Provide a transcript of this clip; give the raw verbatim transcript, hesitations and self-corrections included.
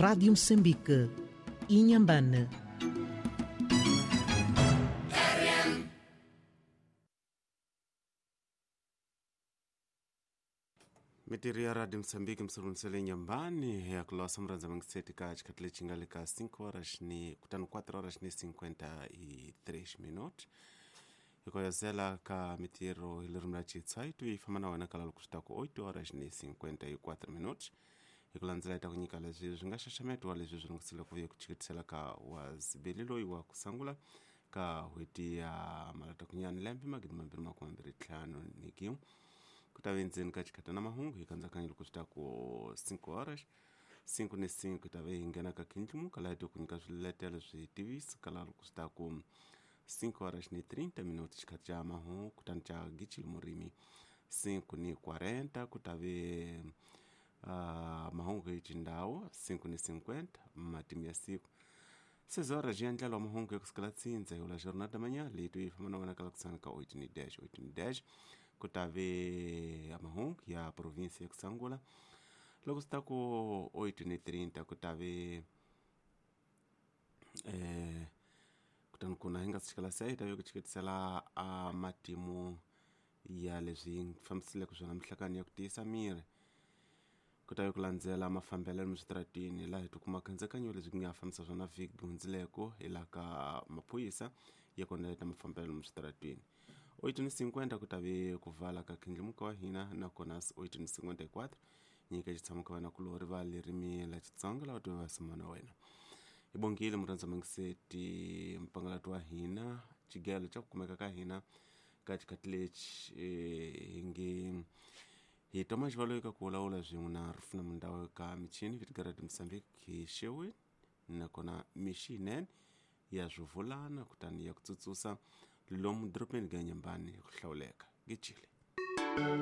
Rádio Moçambique, Inhambane. Mitiri ya Radio Msambiki msulumsele nyambani ya kulosa mranza mangiseti ka chikatile chingali ka cinco horas ni kutano quatro horas ni cinquenta e três minutos ikoyozela ka mitiro ilirumla chitsaitu ifamana wena kala lukuxitaku oito horas ni cinquenta e quatro minutos ikulandzela ita kunyika leswi swi nga xaxametiwa leswi swi lungisile ku vuya ku chikitisela ka wazibeli loyi wa kusangula ka hweti ya malata kunyani lembe magidi mambirhi makume mbirhi ntlhanu ni kin'we ku ta ve ndzeni ka xikhata na mahungu hi kandzakanya loko swi ta ku cinco horas cinco ni cinco hi ta ve hi nghena ka khindlimuka laha hi ku nyika swiletelo swi tivisa kala loko swi ta ku cinco horas ni trinta minutos xikhati xa mahungu kutani xa gichili murimi cinco ni quarenta ku ta ve uh, mahungu hi xindhawu cinco ni cinquenta matimu ya siku seis horas ya ndlela wa mahungu ya kusukela tsindza hi ula jornada da manhã leyi yi famba na wena kala kusana ka oito ni dez oito ni dez ku ta ve ya mahungu ya provinsia ya kusangula loko swi ta ku oito ni trinta ku ta ve eh, kutani kuna hi nga si chikela se hi ta ve ku chiketisela a matimu ya leswi fambisileke swona mihlakani ya ku tiyisa miri ku ta ve ku landzela mafambelelo miswitaratini laha hi tikuma khendzekanyo leswi nga fambisa swona vhiki hundzileko hi laha ka maphorisa ya kona mafambelelo miswitaratini oito ni cinquenta ku ta ve ku vala ka khindlimuka wa hina nakona oito ni cinquenta e quatro nyika xitshamo ka vana kulori va lerimi la Xitsonga lava tiva va na wena hi bongile murhandza mangiseti mpangalati wa hina xigelo xa ku kumeka ka hina ka xikhathi lexi hi nge hi toma xivalo eka ku vulavula swin'we na rufuna mundawo ka michini vitigarati Mozambique hi xeweni nakona mixi yinene ya swivulana kutani ya ku tsutsusa lomu dorobeni ka Nyambani ku hlawuleka gechile.